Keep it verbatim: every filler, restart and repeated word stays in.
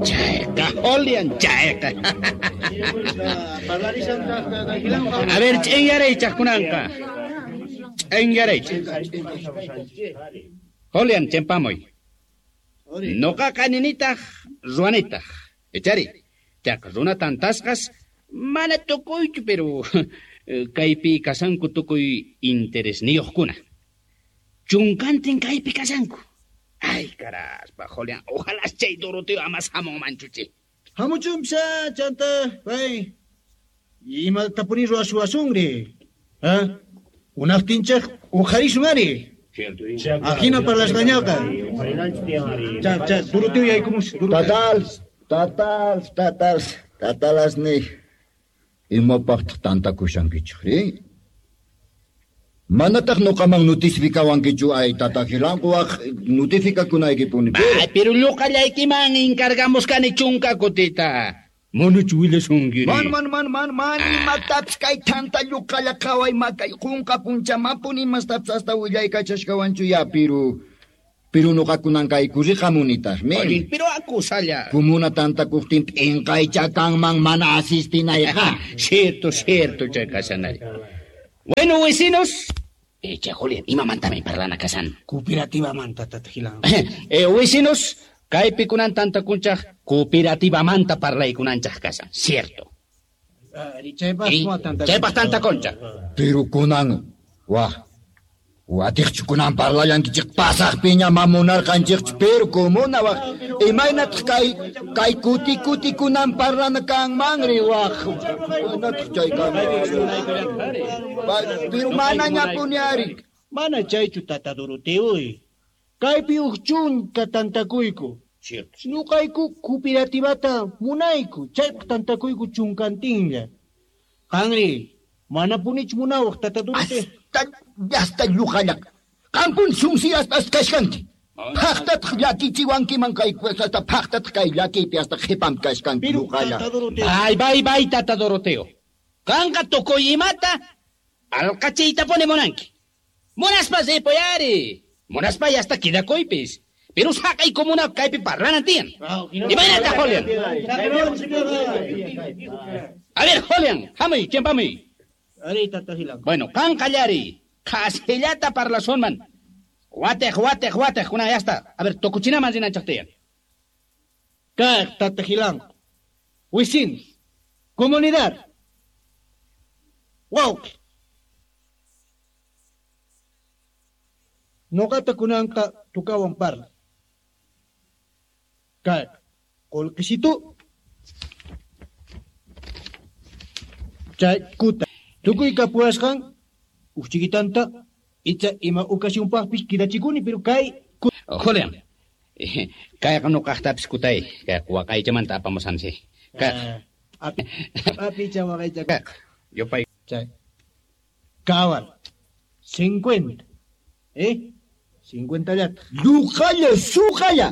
Chayqa, Julián, chayqa. A ver, ch'inyaraychaq kunanqa. Ch'inyaraychaq. Julián, chimpamuy. Noqaqa ninitaq, ruwanitaq. Ichari, chayqa runa tantasqas mana tukuychu, pero kaypi kasanku tukuy interesniyuqkuna. Chunkantin kaypi kasanku. Ay, caraspa, Julián, ojalá chay Doroteo ama hamunmanchu chay. Hamuchunpisa, chanta, pay. Imatapuni ruwasuwasunri. Ha? Unaqtinchaq uqharisun ari. Ajina parlasqañaqa. Cha, cha, Doroteo yaykumus. Tatal, tatal, tatal, tatalas ni. Imapaqtaq tantakushankichik, Manataq noqaman notificawankichu ay tata Gilanquwaq notificakunaykipuni. Ay, pero lluqallaykiman encargamos kani chunka kutita. Manachu willasunkiri. Man, man, man, man, man, imatapis kay tanta lluqalla qhaway makay qunqa punchamanpuni imastapis hasta willaykachashkawanchu ya, pero pero noqakunan kay kuriqamunitaqmi. Oye, pero acusalla. Comuna tantakuqtin p'inqaycha kanman mana asistinayqa. Cierto, cierto, chay kashanari. Bueno, vecinos. Eh, che, Julián, imamantami parlana kasan. Cooperativamanta, tata Gilanco. Eh, vecinos, kaypi kunan tantakunchaq cooperativamanta parlaykunanchaq kasan, cierto. Chaypaq Chaypaq tantakunchaq. Pero kunan, wah, watiqchu kunan parlallankichik pasaqpiña mamunarqanchikchu, pero comuna wah, imaynataq kay kay kuti kuti kunan parlana kanmanri wah, imaynataq chay kanman. Pero manañapuni ari. Mana chaychu tata Doroteo. Kaypi uj chunka tantakuyku. Cierto. Ñuqayku cooperativata munayku, chaypaq tantakuyku chunkantinlla. Qanri, manapunichu munawaq tata Doroteo. Hasta, hasta lluqallaq. Qampun sunsiyaspas kashkanki. Phaqtataq llakichiwankiman kay hasta phaqtataq kay llakiypi hasta qhipam kashkanki lluqalla. Bay, bay, bay, tata Doroteo. Qanqa tukuy imata alqachiytapuni munanki. Munaspa ripuy ari. Munaspa hasta quedakuypis. Pero saqay comuna kaypi parlanan tiyan. Imaynata, Julián? A ver, Julián, hamuy, chimpamuy. Ari, tata Gilanco. Bueno, qan qallari. Qhasillata parlasunman. Wateq, wateq, wateq, kunan ya está. A ver, tukuchinaman rinanchaq tiyan. Kaq, tata Gilanco. Vecinos, comunidad. Wawqi. Noqata kunanqa tukawan parla. Kaq, qullqisitu. Chay kuta. Tukuy kapuwasqan uj chiquitanta icha ima ocasionpaqpis quedachikuni, pero kay Julián, kayqa nuqaqtapis kutay, kay waqaychamanta apamusansi. Kay api apicha waqaycha. Kaq, yupay. Chay. Cabal. Cincuenta. ¿Eh? Cincuenta llata. Lluqalla, suqalla.